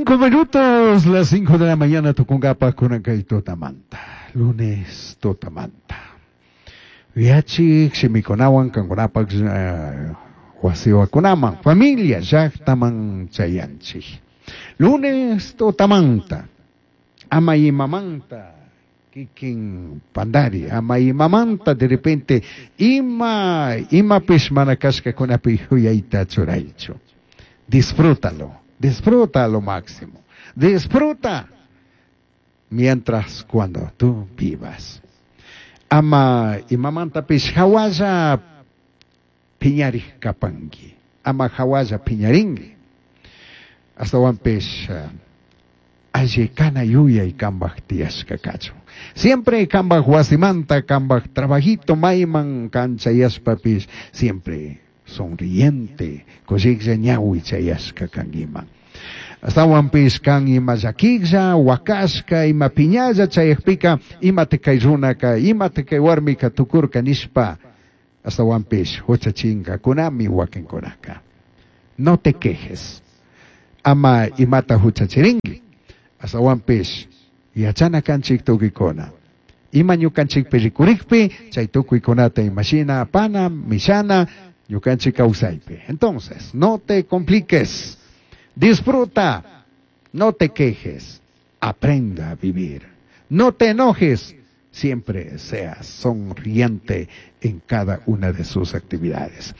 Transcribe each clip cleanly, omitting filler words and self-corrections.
5 minutos, las 5 de la mañana tucungapaj kunan tutamanta. Lunes tutamanta. Yachik shimikunawan kankunapaj wasiwakunaman, familia llaqtaman chayanchik. Lunes tutamanta, ama imamanta kikin pandari, ama imamanta de repente ima imapish mana kashkakunapi yuyayta churaychu. Disfrútalo, disfruta lo máximo. Disfruta mientras cuando tú vivas. Ama imamantapish hawalla piñarij kapanki. Ama hawalla piñarinki. Astawanpish alli kana yuyay kambaj tiyashka kachun. Siempre kambaj wasimanta, kambaj trabajito mayman kanchayashpapish, siempre sonriente, kushiklla ñawi chayashka kankiman. Astawanpish kan ima llakiklla, wakashka, ima piñalla chayakpika, imata kay runaka, imata kay warmika tukurka nishpa, astawanpish huchachinkakunami wakinkunaka. No te quejes. Ama imata huchachirinki. Astawanpish yachana kanchik tukikuna. Ima ñukanchikpi rikurikpi, chay tukuykunata imashina apana, mishana, ñukanchik kawsaypi. Entonces, no te compliques. Disfruta. No te quejes. Aprenda a vivir. No te enojes. Siempre seas sonriente en cada una de sus actividades.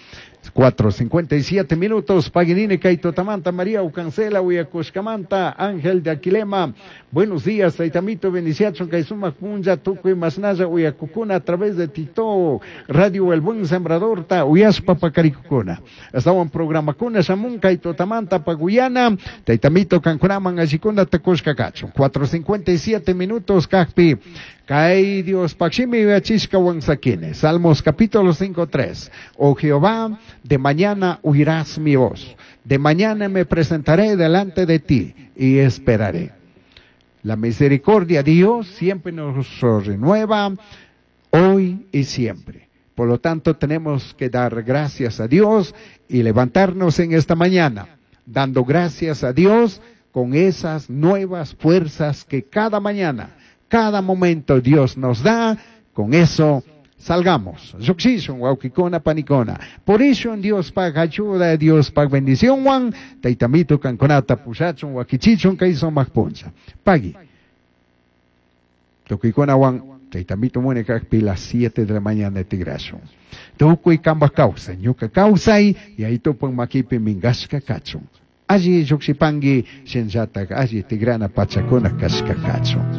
4:57 minutos, Paginini, kay tutamanta, María Ucancela, Uyacushcamanta, Ángel de Aquilema, buenos días, Taitamito, Beniciacho, kay sumak punlla, Tucuy, Masnaya, Uyacucuna, a través de Tito, Radio El Buen Sembrador, ta, Uyaspa, Pacaricuna. Estaban programa Cuna, Shamun, kay tutamanta, Paguyana, Taitamito, Cancunaman, Ashicuna, Tecushca, Cacho. 4:57 minutos, Cacpi, Kay Dios, Paximi, Uyachishka, Huanzaquine. Salmos capítulo 5, 3. Oh Jehová, de mañana oirás mi voz. De mañana me presentaré delante de ti y esperaré. La misericordia de Dios siempre nos renueva hoy y siempre. Por lo tanto, tenemos que dar gracias a Dios y levantarnos en esta mañana, dando gracias a Dios con esas nuevas fuerzas que cada mañana, cada momento Dios nos da. Con eso salgamos. Lluqshishun, wawkikuna, panikuna. Por eso en Dios pag ayuda, Dios pag bendición, wan, taitamito kankunata pushachun, wakichichun, kay sumak puncha. Pagui. Tukuykuna wan, taitamito munay kakpi las 7 de la mañana tigrashun. Tukuy kambaj kawsay, ñuka kawsay, Yayitupak makipi minkashka kachun. Alli llukshipanki, shinllatak alli tigrana pachakuna kashka kachun.